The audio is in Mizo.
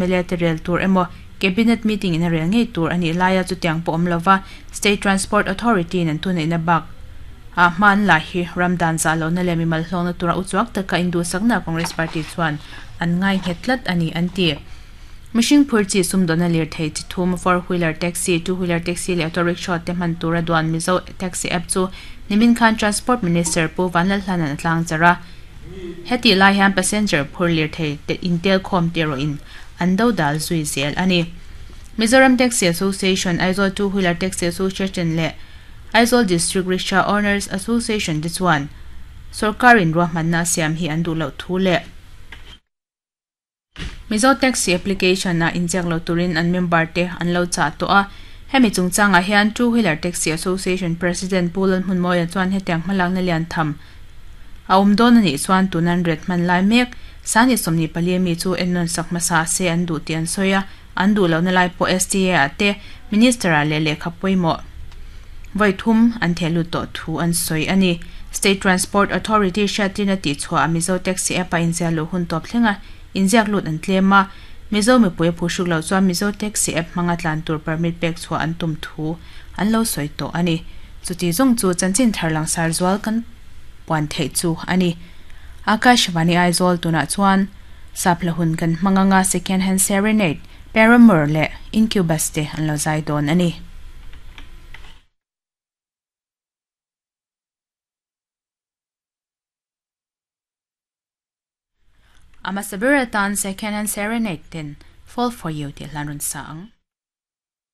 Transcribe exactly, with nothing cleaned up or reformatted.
M L A te rel tur emaw cabinet meeting in a rel ngei tur ani laia chu tiang pawh awm lova State Transport Authority in an thuneihna bak a hman la hi ramdan za lo na leh mimal hlawkna tura uchuak taka induhsakna Congress Party chuan an ngai nghet tlat ani an ti. Mihring phur chi sumdawna lirthei chi thum four wheeler taxi, two wheeler taxi leh auto rickshaw te hman tura duan Mizo Taxi app chu nimin khan Transport Minister Pu Vanlalhlanan a tlang char a. Heti lai hian passenger phur lirthei te intel khawm te erawhin an do dal zui zel ani. Mizoram Taxi Association, Aizawl Two Wheeler Taxi Association leh Aizawl District Rickshaw Owners Association te chuan sorkarin ruahmanna a siam hi an duh loh thu leh Mizo Taxi application a inziak lo turin an member te an lo chah tawh a. Hemi chungchangah hian Two Wheeler Taxi Association President Pu Lalhmunmawia chuan hetiang hmalakna lian tham a awm dawn anih chuan tunan ret hman lai mek sani sawmhnih pali mi chu ennawn sak hmasa se an duh tih an sawi a. An duh lohna lai pawh S T A ah te minister ah leh lehkha pawimawh vawi thum an theh lut tawh thu an sawi a ni. State Transport Authority hriattirna tih chhuah a Mizo Taxi app a inziah luh hun tawp thleng a inziak lut an tlem a. Mizo mipui a phuhruk loh chuan Mizo Taxi app hmanga tlan tur permit pek chhuah an tum thu an lo sawi tawh a ni. Chuti zawng chu chanchin thar langsar zual kan puan theih chu a ni. Akashvani Aizawl tunah chuan sapla hun kan hmang anga Second Hand Serenade, Paramore leh Incubus te an lo zai dawn a ni. Ama sabir atan Second Hand Serenade ten Fall For You tih hlan rawn sa ang.